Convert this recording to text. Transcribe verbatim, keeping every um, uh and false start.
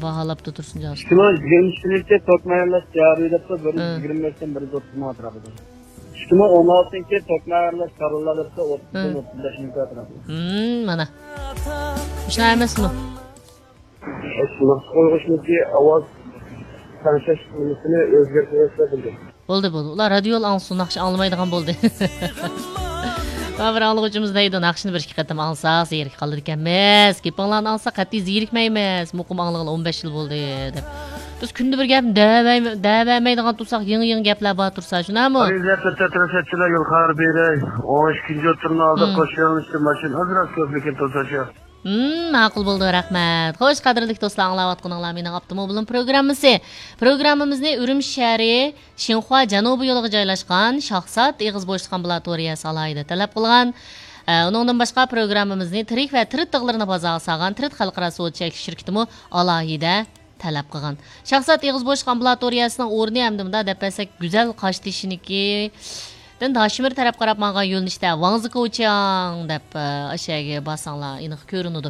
باھالاپتۇ تۇرسۇنجان ئۇستا. ئىككى مىڭ يىگىرمە ئۈچىنچى تۆت مايلار جارى دەپتۇ، بىر يۈز يىگىرمە بەشتىن بىر يۈز ئوتتۇز مىڭ ئەتراپىدا. ئىككى مىڭ ئون ئالتىنچى تۆت مايلار كارلار دەپتۇ، ئوتتۇزدىن ئوتتۇز بەش مىڭ ئەتراپىدا. ھىم، مانا. شۇنداق ئەمەسمۇ؟ مەخسۇس قويغۇچنىڭكى ئاۋاز تەڭشەش نېمىسىنى ئۆزگەرتىۋەتسە بولدى. بولدى، بولدى. ئۇلار رادىيو ئاڭلىسۇن، ناخشا ئاڭلىمايدىغان بولدى. مانا بىر ئاڭلىغۇچىمىز دەيدۇ، ناخشىنى بىر ئىككى قېتىم ئاڭلىساق زېرىكىپ قالىدىكەنمىز. گېپىڭلارنى ئاڭلىساق قەتئىي زېرىكمەيمىز. مۇقىم ئاڭلىغىلى ئون بەش يىل بولدى، دەپ. بىز كۈندە بىر گەپنى دەۋەرمەي-، دەۋەرمەيدىغان تۇرساق، يېڭى-يېڭى گەپلەر بار تۇرسا، شۇنداقمۇ؟ ئەزىزلەر، تۆت تەترەسەتچىلەر يول خەۋەر بېرەي. ئون ئىككىنچى ئوتتۇرىنىڭ ئالدىدا ھىم. قوشۇلۇشتا ماشىنا ئازراق كۆپ، لېكىن توساچ يوق. ھىم، ماقۇل بولدى، رەھمەت. خوش، قەدىرلىك دوستلار، ئاڭلاۋاتقىنىڭلار مېنىڭ ئاپتوموبىلىم پروگراممىسى. پروگراممىمىزنى ئۈرۈمچى شەھىرى شىنخۇا جەنۇبىي يولىغا جايلاشقان شاھزات ئېغىز بوشلۇق ئامبۇلاتورىيەسى ئالاھىدە تەلەپ قىلغان. ئە، ئۇنىڭدىن باشقا، پروگراممىمىزنى تىرىك ۋە تىرىت تىغلىرىنى بازارغا سالغان تىرىت خەلقئارا سودا چەكلىك شىركىتىمۇ ئالاھىدە تەلەپ قىلغان. شاھزات ئېغىز بوشلۇق ئامبۇلاتورىيەسىنىڭ ئورنى ئەمدى مۇنداق دەپ بەرسەك، گۈزەل قاشتېشىنىكىدىن داشمىر تەرەپ قاراپ ماڭغان يۆنىلىشتە ۋاڭزىكوچياڭ دەپ، ئە، ئاشۇ يەرگە بارساڭلار ئېنىق كۆرۈنىدۇ.